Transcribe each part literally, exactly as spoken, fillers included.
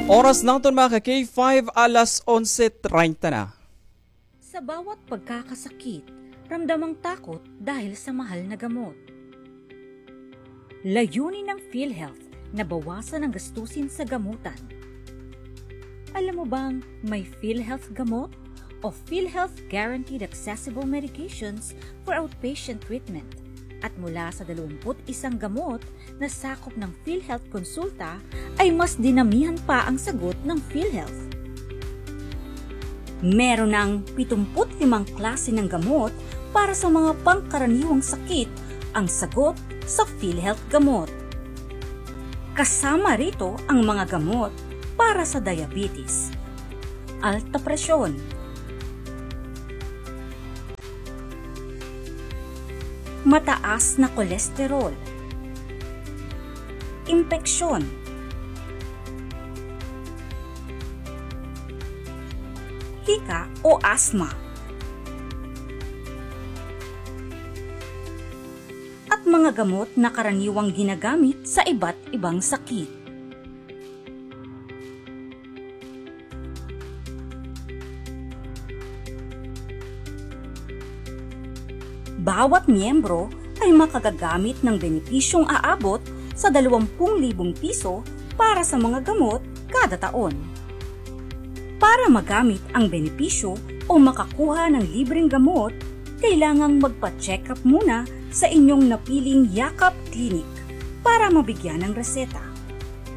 Oras naton, mga ka-K five, alas onse treinta na. Sa bawat pagkakasakit, ramdam ang takot dahil sa mahal na gamot. Layunin ng PhilHealth na bawasan ang gastusin sa gamutan. Alam mo bang may PhilHealth Gamot o PhilHealth Guaranteed Accessible Medications for Outpatient Treatment? At mula sa dalawampu't isang gamot na sakop ng PhilHealth Konsulta, ay mas dinamihan pa ang sagot ng PhilHealth. Meron ng pitumpu't limang klase ng gamot para sa mga pangkaraniwang sakit ang sagot sa PhilHealth Gamot. Kasama rito ang mga gamot para sa diabetes, alta presyon, mataas na kolesterol, impeksyon, hika o asma, at mga gamot na karaniwang ginagamit sa iba't ibang sakit. Bawat miyembro ay makagagamit ng benepisyong aabot sa dalawampung libong piso para sa mga gamot kada taon. Para magamit ang benepisyo o makakuha ng libreng gamot, kailangang magpa-check-up muna sa inyong napiling Yakap Clinic para mabigyan ng reseta.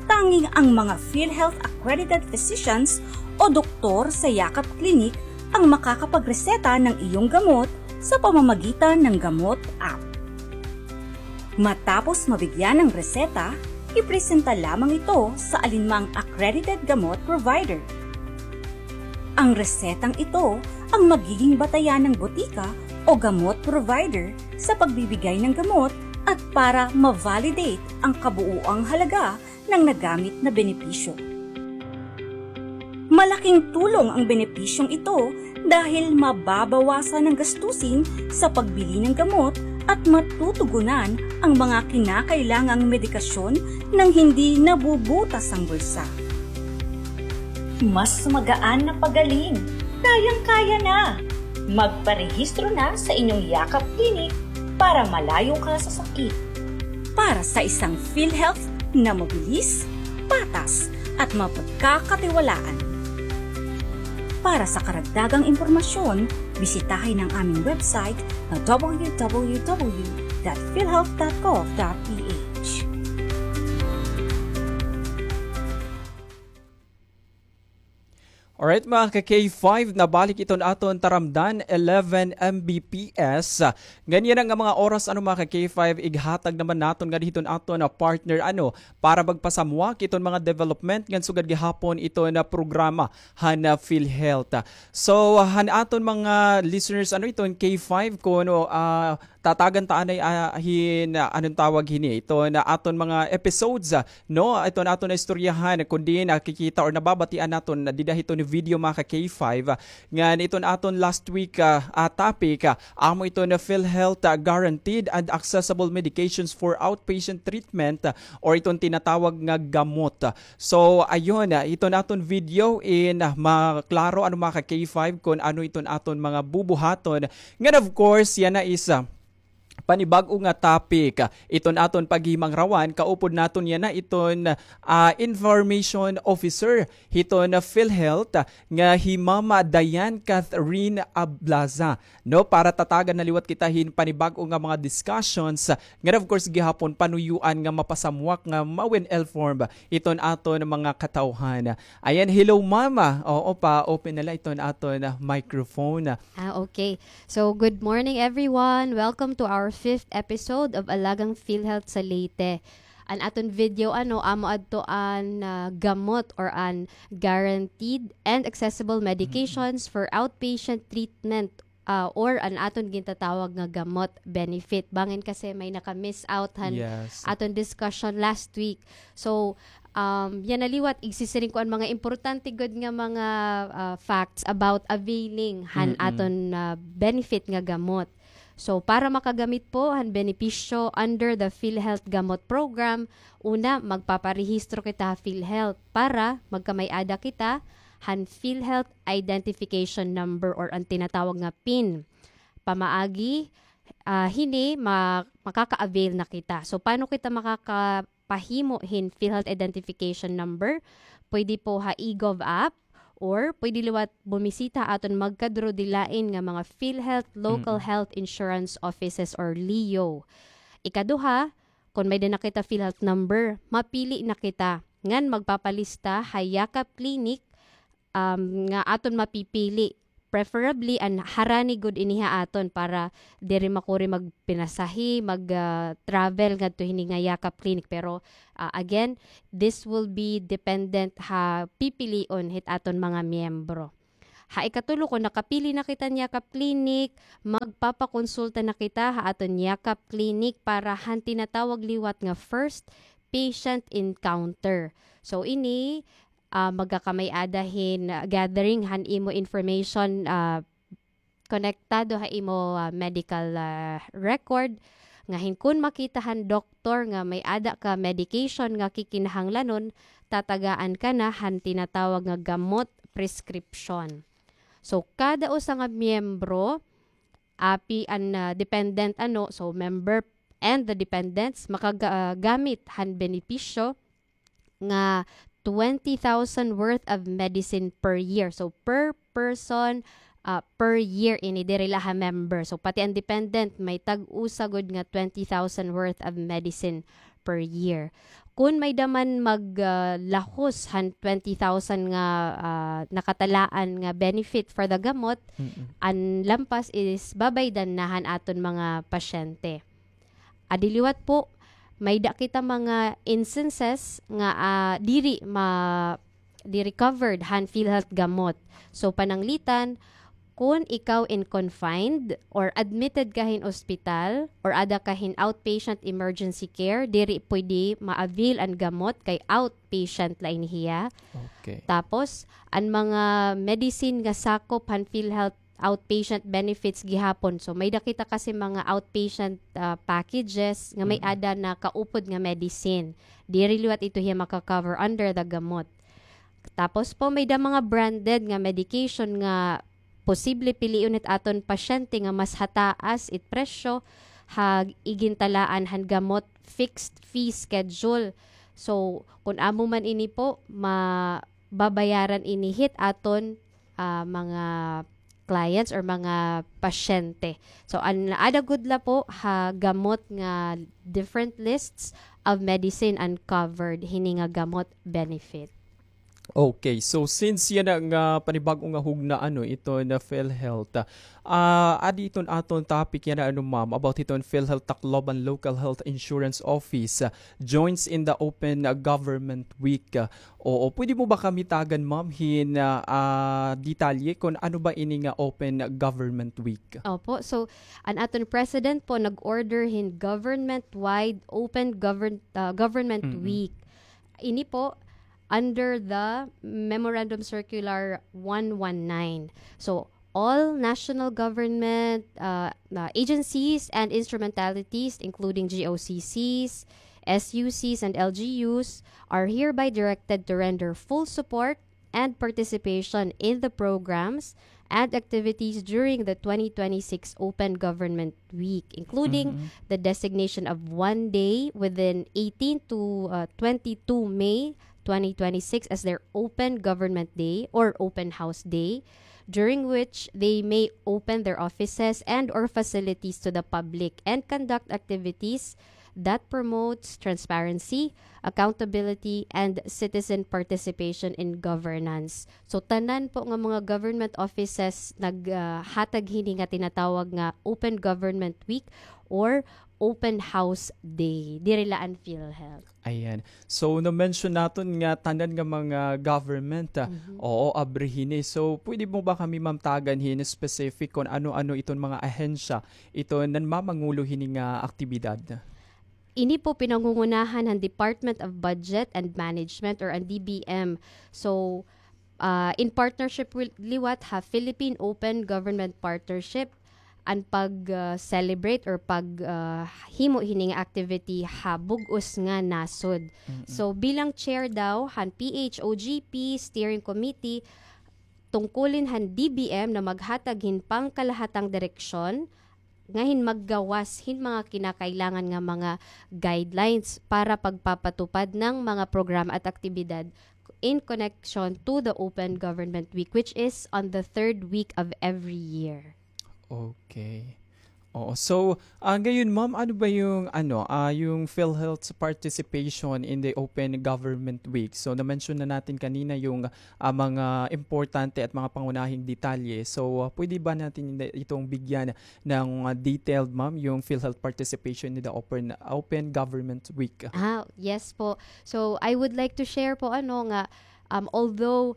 Tanging ang mga PhilHealth accredited physicians o doktor sa Yakap Clinic ang makakapagreseta ng iyong gamot sa pamamagitan ng Gamot App. Matapos mabigyan ng reseta, ipresenta lamang ito sa alinmang accredited gamot provider. Ang resetang ito ang magiging batayan ng botika o gamot provider sa pagbibigay ng gamot at para ma-validate ang kabuuang halaga ng nagamit na benepisyo. Malaking tulong ang benepisyong ito dahil mababawasan ang gastusin sa pagbili ng gamot at matutugunan ang mga kinakailangang medikasyon nang hindi nabubutas ang bulsa. Mas magaan na pagaling. Kayang-kaya na. Magparehistro na sa inyong Yakap Clinic para malayo ka sa sakit. Para sa isang PhilHealth na mabilis, patas, at mapagkakatiwalaan. Para sa karagdagang impormasyon, bisitahin ang aming website na w w w dot philhealth dot gov dot p h. Alright, mga ka-K five, nabalik iton aton taramdan, eleven M B P S. Ngan yana nga mga oras, ano, mga ka-K five, ighatag naman naton ngadto hiton aton, ah, partner, ano, para magpasamwak iton mga development ngan sugad gihapon iton, ah, programa han, ah, PhilHealth. So, han aton mga listeners, ano, iton K five, kuno, ah, tatagan ta anay, ah, hin, ah, anong tawag hini? Iton aton mga episodes, ah, no? Iton aton istoryahan, kundi nakikita or nababatian naton dida hiton video, mga ka-K five, ah, ngan iton aton last week, ah, ah, topic, ah, amo iton PhilHealth, ah, guaranteed and accessible medications for outpatient treatment, ah, or iton tinatawag nga gamot. So, ayun, ah, iton aton video in, ah, maklaro, ano, mga ka-K five, kun ano iton aton mga bubuhaton. Ngan, of course, yana is, ah, panibag-o nga topic. Iton aton paghimangrawan, kaupod naton yana iton, ah, information officer hiton PhilHealth, ah, nga hi Mama Diane Catherine Ablaza, no, para tatagan na liwat kita hin panibag-o nga mga discussions, ah, ngan of course gihapon panuyuan nga mapasamwak nga ma-well-informed iton aton mga katawhan. Ayan, hello, Mama. Oo, pa-open na la iton aton, ah, microphone. Ah, okay. So, good morning, everyone. Welcome to our fifth episode of Alagang PhilHealth sa Leyte. An aton video, ano, amo adto an, ah, gamot or an guaranteed and accessible medications for outpatient treatment, ah, or an aton gintatawag nga gamot benefit. Bangin kasi may naka-miss out han aton discussion last week. So, um, yana liwat, igsisiring ko an mga importante gud nga mga, ah, facts about availing han aton, ah, benefit nga gamot. So, para makagamit po han benepisyo under the PhilHealth Gamot Program, una, magpaparehistro kita ha PhilHealth para magkamay-ada kita han PhilHealth Identification Number or an tinatawag nga pin. Pamaagi, ah, hini, ma-, makaka-avail na kita. So, paano kita makakapahimo hin PhilHealth Identification Number? Pwede po ha eGov app, or pwede liwat bumisita ha aton magkaduro-dilain nga mga PhilHealth local health insurance offices or leo. Ikaduha, kon may-ada na kita PhilHealth number, mapili na kita ngan magpapalista ha Yakap Clinic, um, nga aton mapipili. Preferably, an harani gud ini ha aton para diri makuri magpinasahi, mag, ah, travel ngadto hini nga Yakap Clinic. Pero, ah, again, this will be dependent ha pipilion hit aton mga miyembro. Ha ikatulo, kon nakapili na kita han Yakap Clinic, magpapakonsulta na kita ha aton Yakap Clinic para han tinatawag liwat nga first patient encounter. So, ini, ah, magkakamay-ada hin, ah, gathering han imo information, ah, konektado ha imo, ah, medical, ah, record, nga hin kon makita han doktor nga may-ada ka medication nga kikinahanglanon, tatagaan ka na han tinatawag nga gamot prescription. So, kada usa nga miyembro, api an, ah, dependent, ano, so member and the dependents, makaga-, ah, gamit han benepisyo nga twenty thousand worth of medicine per year. So, per person, ah, per year ini, diri la ha member. So, pati an dependent, may tag-usa gud nga twenty thousand worth of medicine per year. Kon may-ada man mag, ah, lahos han twenty thousand nga, ah, nakatalaan nga benefit for the gamot, an lampas is babaydan na han aton mga pasyente. Adi liwat po, may-ada kita mga instances nga, ah, diri ma-, diri covered han PhilHealth gamot. So, pananglitan, kon ikaw in confined or admitted ka hin ospital or ada ka hin outpatient emergency care, diri pwede ma-avail an gamot kay outpatient la ini hiya. Okay. Tapos, an mga medicine nga sakop han PhilHealth outpatient benefits gihapon. So, may-ada kita kasi mga outpatient, ah, packages nga may-ada na kaupod nga medicine. Diri liwat ito hiya maka-cover under the gamot. Tapos po, may-ada mga branded nga medication nga posible pilion hit aton pasyente nga mas hataas it presyo ha igintalaan han gamot fixed fee schedule. So, kun amo man ini po, ma-, babayaran ini hit aton, ah, mga clients or mga pasyente. So, an ada gud la po ha gamot nga different lists of medicine uncovered hini nga gamot benefit. Okay, so since yana nga panibag-o nga hugna, ano, ito na PhilHealth, ah, adi iton aton topic yana, ano, ma'am, about iton PhilHealth Tacloban Local Health Insurance Office, ah, joins in the Open Government Week. Ah, oo, pwede mo ba kami tagan, ma'am, hin, ah, ah, detalye kon ano ba ini nga Open Government Week? Opo, so an aton president po nag-order hin government-wide Open Govern-, ah, Government Week. Ini po, under the Memorandum Circular one one nine. So, all national government, uh, uh, agencies and instrumentalities, including G O C Cs, S U Cs, and L G Us, are hereby directed to render full support and participation in the programs and activities during the twenty twenty-six Open Government Week, including the designation of one day within eighteen to, uh, twenty-two May twenty twenty-six as their Open Government Day or Open House Day, during which they may open their offices and or facilities to the public and conduct activities that promotes transparency, accountability, and citizen participation in governance. So, tanan po nga mga government offices nag, ah, hatag hini nga tinatawag nga Open Government Week or Open House Day. Diri la an PhilHealth. Ayan. So, na-mention naton nga tanan nga mga government, ah, oo, abri hini. So, pwede mo ba kami, ma'am, tagan hin specific kon ano-ano iton mga ahensya ito nanmamangulo hini nga aktibidad? Ini po pinangungunahan han Department of Budget and Management or an D B M. So, ah, in partnership wi-, liwat ha Philippine Open Government Partnership, an pag, ah, celebrate or pag, ah, himo hini nga activity ha bug-os nga nasod. So, bilang chair daw han P H O G P Steering Committee, tungkulin han D B M na maghatag hin pangkalahatang direksyon, nga hin maggawas hin mga kinakailangan nga mga guidelines para pagpapatupad ng mga programa at aktibidad in connection to the Open Government Week, which is on the third week of every year. Okay. Oo. So, ah, ngayon, ma'am, ano ba yung, ano, ah, yung PhilHealth's participation in the Open Government Week? So, na-mention na natin kanina yung, ah, mga importante at mga pangunahing detalye. So, ah, pwede ba natin itong bigyan ng, ah, detailed, ma'am, yung PhilHealth participation in the Open, Open Government Week? Ah, yes po. So, I would like to share po, ano, nga, um, although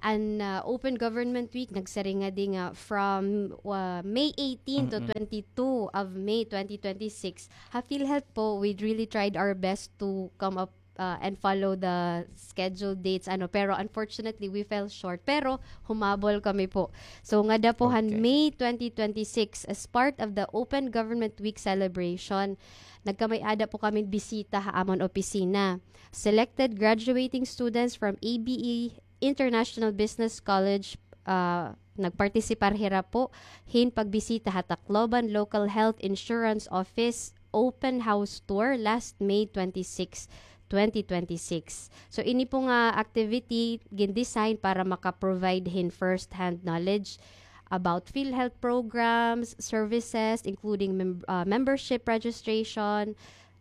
an, ah, Open Government Week nagsiring ngadi nga from, ah, May eighteen to twenty-two of May twenty twenty-six. Ha PhilHealth po, we really tried our best to come up, ah, and follow the scheduled dates, ano, pero unfortunately, we fell short. Pero humabol kami po. So, ngada po han May twenty twenty-six, as part of the Open Government Week celebration, nagkamay-ada po kami bisita ha amon opisina. Selected graduating students from A B E International Business College, ah, nagpartisipar hira po hin pagbisita ha Tacloban Local Health Insurance Office Open House Tour last May twenty-six, twenty twenty-six. So, ini po nga activity gin-design para maka-provide hin first-hand knowledge about PhilHealth programs, services, including mem-, ah, membership registration,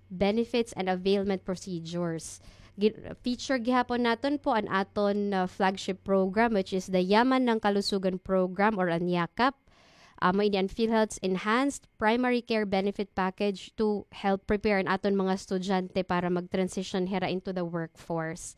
benefits and availment procedures. Gi-, feature gihapon naton po an aton, uh, flagship program, which is the Yaman ng Kalusugan Program or an YAKAP. Amo ini an PhilHealth's Enhanced Primary Care Benefit Package to help prepare an aton mga estudyante para mag-transition hira into the workforce.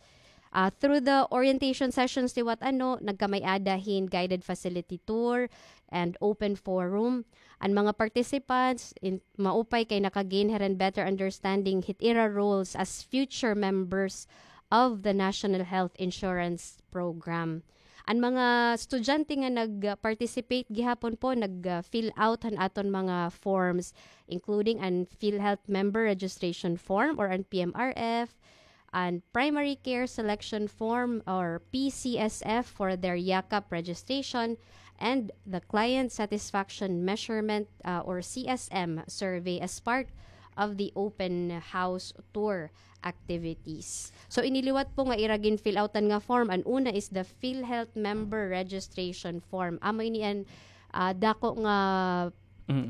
Uh, through the orientation sessions liwat ano, nagkamay-ada hin guided facility tour and open forum. An mga participants, in, maupay kay naka-gain hira hin better understanding hit ira roles as future members of the National Health Insurance Program. An mga estudyante nga nag-participate gihapon po, nag-, uh, fill out han aton mga forms, including an PhilHealth Member Registration Form or an P M R F, an Primary Care Selection Form or P C S F for their YAKAP registration, and the Client Satisfaction Measurement, uh, or C S M survey as part of the open house tour activities. So, ini liwat po nga ira gin-fill outan nga form, an una is the PhilHealth Member Registration Form. Amo ini an, ah, dako nga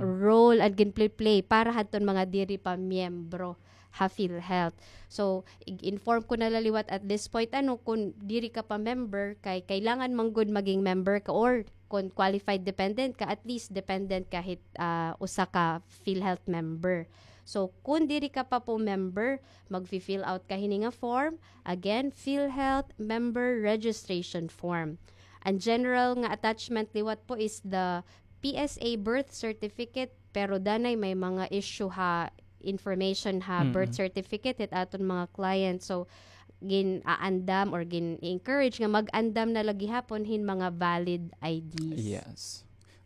role an gin-play-play para hadton mga diri pa miyembro ha PhilHealth. So, ig-inform ko na la liwat at this point, ano, kun diri ka pa member, kay kailangan man gud maging member ka, or kun qualified dependent ka, at least dependent ka hit, ah, usa ka PhilHealth member. So, kun diri ka pa po member, magfi-fill out ka hini nga form. Again, PhilHealth Member Registration Form. An general nga attachment liwat po is the P S A birth certificate, pero danay may mga issue ha information ha birth certificate hit aton mga client. So, gin-aandam or gin-encourage nga mag-andam na la gihapon hin mga valid I Ds. Yes.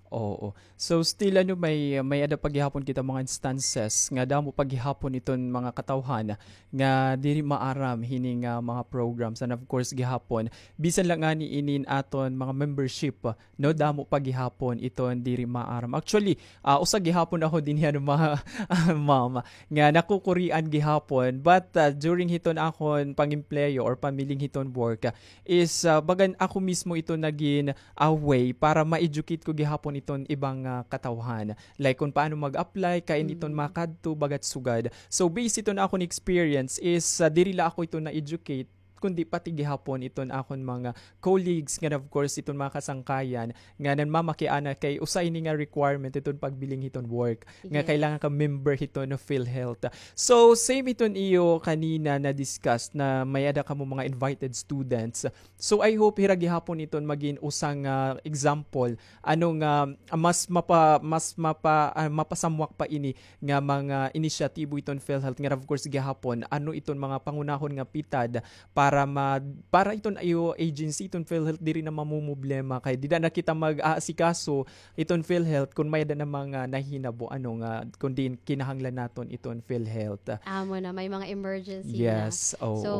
Oo. So, still, ano, may, may-ada pa gihapon kita mga instances nga damo pa gihapon iton mga katawhan nga diri maaram hini nga mga programs. And of course, gihapon, bisan la ngani inin aton mga membership, no, damo pa gihapon iton diri maaram. Actually, ah, usa gihapon ako dinhi, ano, ma-, ma'am, nga nakukurian gihapon. But, ah, during hiton akon pangempleyo or pamiling hiton work, ah, is, ah, bagan ako mismo ito nagin a way para ma-educate ko gihapon iton ibang, ah, katawhan. Like, kun paano mag-apply, kain iton makadto, bagat sugad. So, based iton akon experience is, ah, diri la ako ito na-educate, kundi pati gihapon iton akon mga colleagues, nga of course, iton mga kasangkayan, nga nanmamakiana kay usa ini nga requirement iton pagbiling hiton work, nga kailangan ka member hiton PhilHealth. So, same iton iyo kanina na discuss na may-ada kamo mga invited students. So, I hope hira gihapon iton magin usa nga example, ano, nga, ah, mas mapa-, mas mapa-, ah, mapasamwak pa ini nga mga inisyatibo iton PhilHealth, nga of course gihapon, ano iton mga pangunahon nga pitad para ma-, para iton iyo agency, iton PhilHealth, diri na mamumroblema kay dida na kita mag-aasikaso iton PhilHealth kon may-ada na mga nahinabo, ano, nga kon diin kinahanglan naton iton PhilHealth. Amo na, may mga emergency na. Yes, oo. So,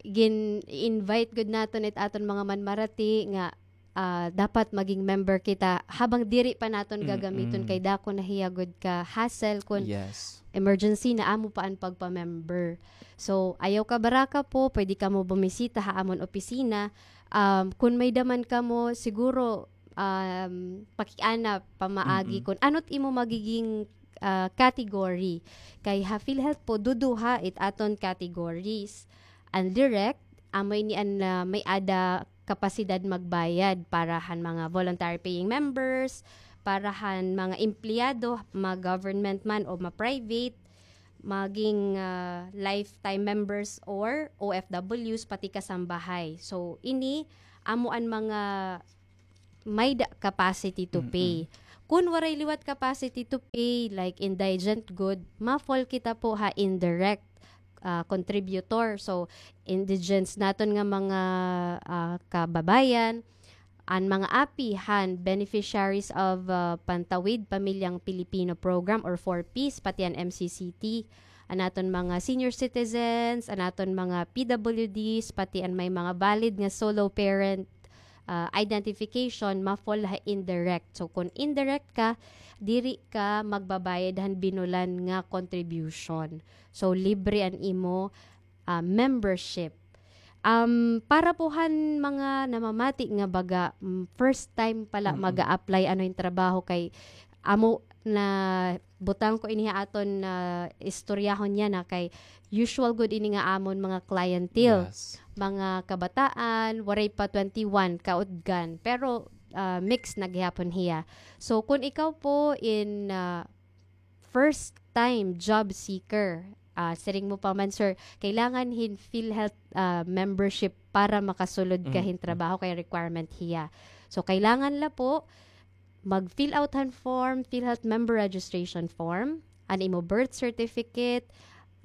gin-invite gud naton it aton mga manmarati nga, ah, dapat maging member kita habang diri pa naton gagamiton kay dako na hiya gud ka hassle kon emergency na amo pa an pagpa-member. So, ayaw kabaraka po, pwede kamo bumisita ha amon opisina. Um, kon may-ada man kamo, siguro, um, pakiana pamaagi kon ano it imo magiging, ah, category. Kay ha PhilHealth po, duduha it aton categories. An direct, amo ini an, ah, may-ada kapasidad magbayad para han mga voluntary paying members, para han mga empleyado, ma-government man o ma-private, maging, ah, lifetime members or O F Ws, pati kasambahay. So, ini, amo an mga may-ada capacity to pay. Kun waray liwat capacity to pay, like indigent gud, ma-fall kita po ha indirect, ah, contributor. So, indigents naton nga mga, ah, kababayan, an mga API han Beneficiaries of, ah, Pantawid Pamilyang Pilipino Program or four Ps, pati an M C C T, an aton mga senior citizens, an aton mga P W Ds, pati an may mga valid nga solo parent, ah, identification, ma-fall ha indirect. So, kon indirect ka, diri ka magbabayad han binulan nga contribution. So, libre an imo, ah, membership. Um, para po han mga namamati nga baga, mm, first time pala mag-a-apply ano hin trabaho kay amo na butang ko ini ha aton, ah, istoryahon niya na kay usual gud ini nga amon mga clientele, mga kabataan, waray pa twenty-one kautgan, pero, ah, mix na gihapon hiya. So, kun ikaw po in, ah, first time job seeker, ah, siring mo pa man, sir, kailangan hin PhilHealth, ah, membership para makasulod ka hin trabaho kay requirement hiya. So, kailangan la po mag-fill out han form, PhilHealth member registration form, an imo birth certificate,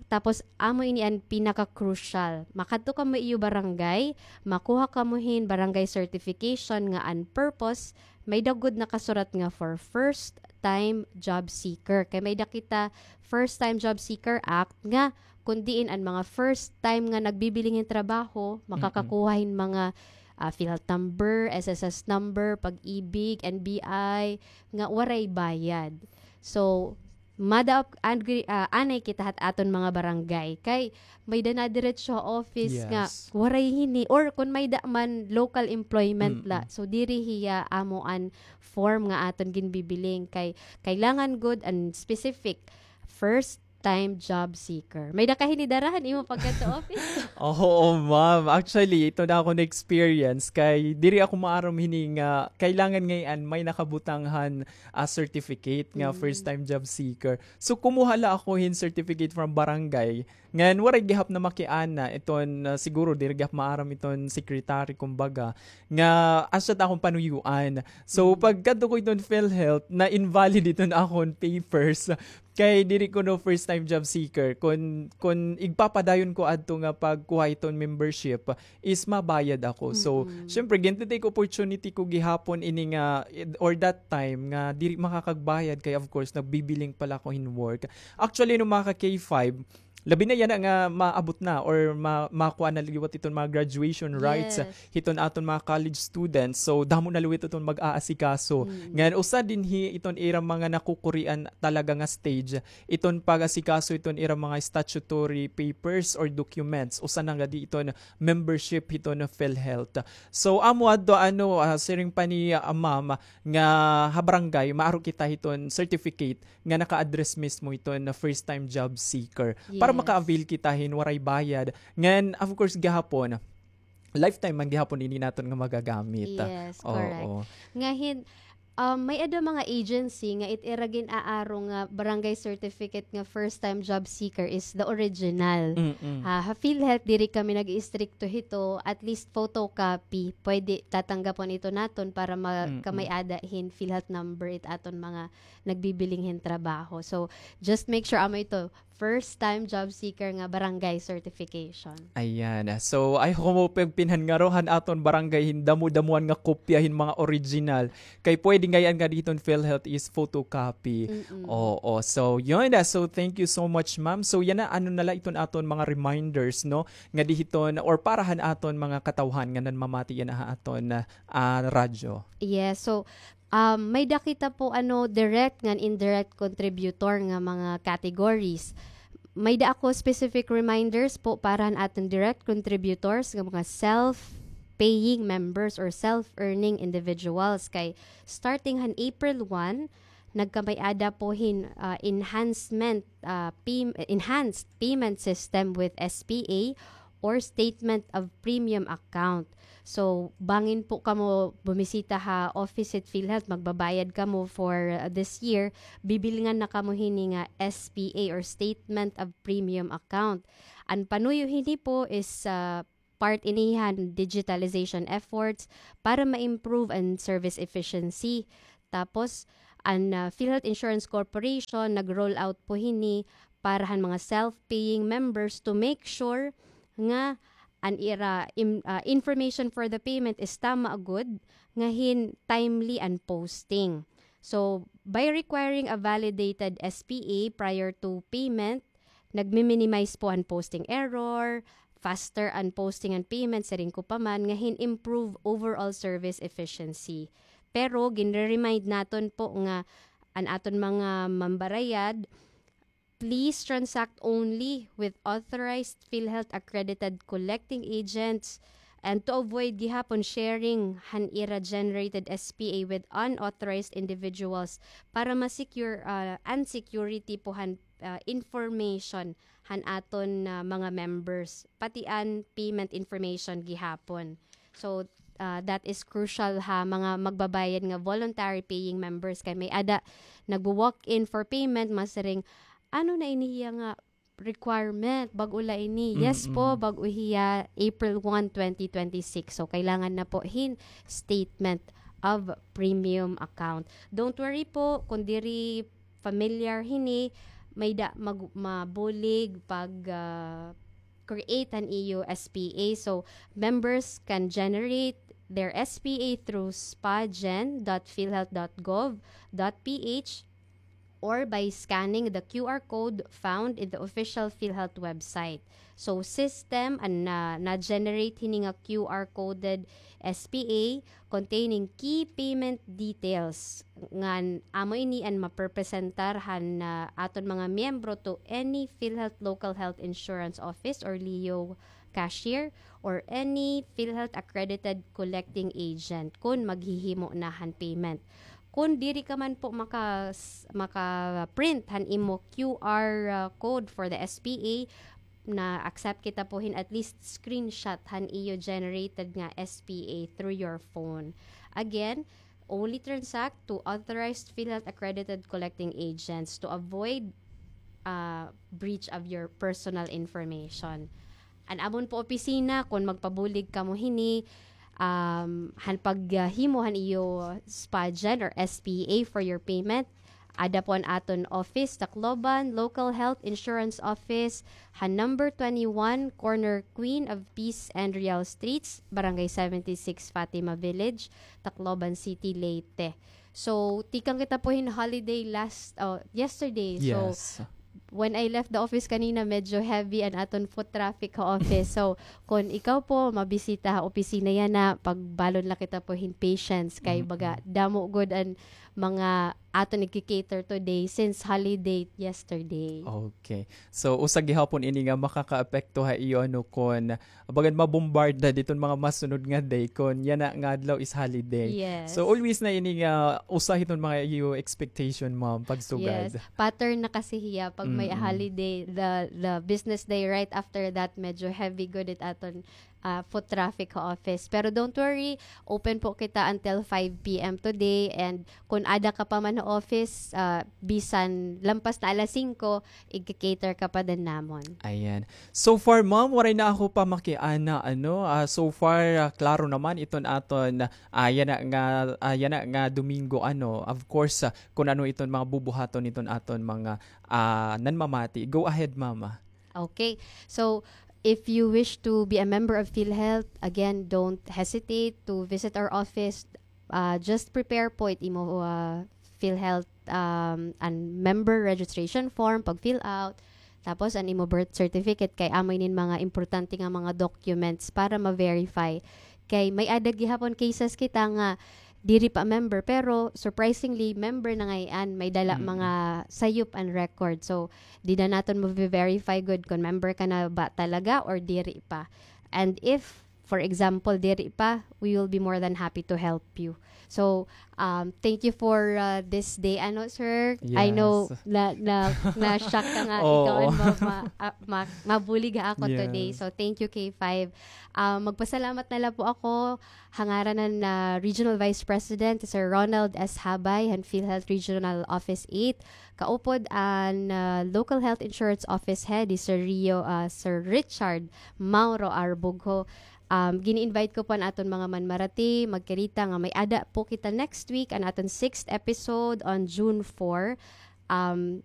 tapos amo ini an pinaka-crucial. Makadto kamo iyo barangay, makuha kamo hin barangay certification nga an purpose, may-ada gud nakasurat nga for first time job seeker. Kay may-ada kita First Time Job Seeker Act nga kun diin an mga first time nga nagbibiling hin trabaho, makakakuha hin mga, ah, PhilHealth number, S S S number, Pag-ibig, N B I, nga waray bayad. So, mada-, agree, ah, anay kita hat aton mga barangay. Kay may-ada na diretso ha office nga waray hini, or kun may-ada man local employment la. So, diri hiya amo an form nga aton ginbibiling. Kay kailangan gud an specific first time job seeker. May-ada ka hini dara han imo pagkadto office? Oo, ma'am. Actually, ito na akon experience kay diri ako maaram hini nga kailangan ngay-an may nakabutang han, ah, certificate nga first time job seeker. So, kumuha la ako hin certificate from barangay. Ngan waray gihap na makiana iton, ah, siguro diri gihap maaram iton secretary, kumbaga, nga asya it akon panuyuan. So, pagkadto ko iton PhilHealth, na-invalid iton akon papers. Kay diri kuno first time job seeker. Kun, kun igpapadayon ko adto nga pagkuha iton membership, is mabayad ako. So, syempre, gin-take opportunity ko gihapon ini nga, or that time, nga diri makakagbayad kay, of course, nagbibiling pala ako hin work. Actually, nung mga ka-K five, labi na yana nga maabot na or ma-, makuha na liwat iton mga graduation rights hiton aton mga college students. So, damo na liwat iton mag-aasikaso. Ngan usa dinhi iton ira mga nakukurian talaga nga stage, iton pag-asikaso iton ira mga statutory papers or documents. Usa na gadi iton membership hiton PhilHealth. So, amo adto, ano, ah, siring pa ni, ah, ma'am, nga ha barangay, maaro kita hiton certificate nga naka-address mismo iton first time job seeker. Para maka-avail kita hin waray bayad. Ngan, of course, gihapon, lifetime man gihapon ini naton nga magagamit. Yes, correct. Nga hin, um, may-ada mga agency nga it ira gin-aaro nga barangay certificate nga first time job seeker is the original. Ha, ha PhilHealth, diri kami nag-iistrikto hito, at least photocopy. Pwede tatanggapon ito naton para ma-, kamay-ada hin PhilHealth number it aton mga nagbibiling hin trabaho. So, just make sure amo ito, first time job seeker nga barangay certification. Ayan. So, ay, humupig pinhan ngaro han aton barangay hin damo-damoan nga kopya hin mga original. Kay pwede ngay-an nga diton PhilHealth is photocopy. Mm-mm. Oo. So, yun. Ah, so, thank you so much, ma'am. So, yana, ano na la iton aton mga reminders, no? Nga dihiton, or para han aton mga katawhan nga nanmamati yana ha aton, ah, ah, radyo. Yes. So, um, may-ada kita po, ano, direct ngan indirect contributor nga mga categories. May-ada ako specific reminders po para han aton direct contributors nga mga self-paying members or self-earning individuals. Kay starting han April one, nagkamay-ada po hin, ah, enhancement, ah, pay-, enhanced payment system with S P A or statement of premium account. So, bangin po kamo bumisita ha office hit PhilHealth, magbabayad kamo for, uh, this year, bibilngan na kamo hini nga S P A or statement of premium account. An panuyo hini po is, uh, part ini han digitalization efforts para ma-improve an service efficiency. Tapos, an, uh, PhilHealth Insurance Corporation nag-roll out po hini para han mga self-paying members to make sure nga an ira im-, ah, information for the payment is tama gud, nga hin timely an posting. So, by requiring a validated S P A prior to payment, nagmi-minimize po an posting error, faster an posting an payment, siring ko pa man, nga hin improve overall service efficiency. Pero, ginre-remind naton po nga an aton mga mambarayad, please transact only with authorized PhilHealth accredited collecting agents and to avoid gihapon sharing han ira generated S P A with unauthorized individuals para ma-secure, ah, an security po han, ah, information han aton, ah, mga members, pati an payment information gihapon. So, ah, that is crucial ha mga magbabayad nga voluntary paying members kay may-ada nagwo-walk in for payment, masiring, ano na ini hiya nga requirement, bag-o la ini. Yes po, bag-o hiya April one, twenty twenty-six. So, kailangan na po hin statement of premium account. Don't worry po, kung diri familiar hini, may-ada mag-, mabulig pag, ah, create an iyo S P A. So, members can generate their S P A through spagen dot philhealth dot gov dot P H or by scanning the Q R code found in the official PhilHealth website. So, system an na, na-generate hini nga Q R coded S P A containing key payment details ngan amo ini an maprepresentar han, ah, aton mga miyembro to any PhilHealth Local Health Insurance Office or leo cashier or any PhilHealth accredited collecting agent kon maghihimo na han payment. Kon diri ka man po maka-, maka-print han imo Q R, ah, code for the S P A, na-accept kita po hin at least screenshot han iyo generated nga S P A through your phone. Again, only transact to authorized PhilHealth accredited collecting agents to avoid, ah, breach of your personal information. An amon po opisina, kon magpabulig kamo hini, um, han paghimo han iyo spagen or S P A for your payment, ada po an aton office, Tacloban Local Health Insurance Office, han number twenty-one, corner Queen of Peace and Real Streets, Barangay seventy-six, Fatima Village, Tacloban City, Leyte. So, tikang kita po hin holiday last, oh, yesterday. So, yes, when I left the office kanina, medyo heavy an aton foot traffic ha office. So, kon ikaw po mabisita ha opisina yana, pagbalon la kita po hin patience kay baga damo gud an mga aton igki-cater today since holiday yesterday. Okay. So, usa gihapon ini nga makakaapekto ha iyo, ano, kon bagan mabombarda diton mga masunod nga day kon yana nga adlaw is holiday. Yes. So, always na ini nga usa hiton mga iyo expectation, ma'am, pagsugad. Yes. Pattern na kasi hiya pag may holiday, the, the business day right after that, medyo heavy gud it aton ah, foot traffic ha office. Pero don't worry, open po kita until five p m today, and kun ada ka pa man ha office, ah, bisan lampas na alas singko, igka-cater ka pa din namon. Ayan. So far, ma'am, waray na ako pa makiana, ano, ah, so far, ah, klaro naman iton aton, ah, yana nga, ah, yana nga Domingo, ano, of course, ah, kun ano iton mga bubuhaton iton aton mga, ah, nanmamati. Go ahead, mama. Okay. So, if you wish to be a member of PhilHealth, again, don't hesitate to visit our office. Uh, just prepare po it imo, uh, PhilHealth, um, an member registration form, pag-fill out, tapos an imo birth certificate, kay amo inin mga importante nga mga documents para ma-verify. Kay may-ada gihapon cases kita nga diri pa member, pero surprisingly, member na ngay-an, may dala mga sayop an record. So, dida naton ma-verify gud kon member ka na ba talaga or diri pa. And if, for example, diri pa, we will be more than happy to help you. So, um, thank you for, uh, this day, ano, sir? I know na, na, na-shock ka nga ikaw an ma-, ma-, ah, ma-, mabulig ha ako today. So, thank you, K five. Ah, magpasalamat na la po ako ha ngaran han, ah, Regional Vice President, Sir Ronald S. Habay, han PhilHealth Regional Office eight, kaupod an, ah, Local Health Insurance Office Head, hi Sir Rio, ah, Sir Richard Mauro R. Bugho. Um, gini-invite ko po an aton mga manmarati, magkirita nga may-ada po kita next week, an aton sixth episode on June four. Um,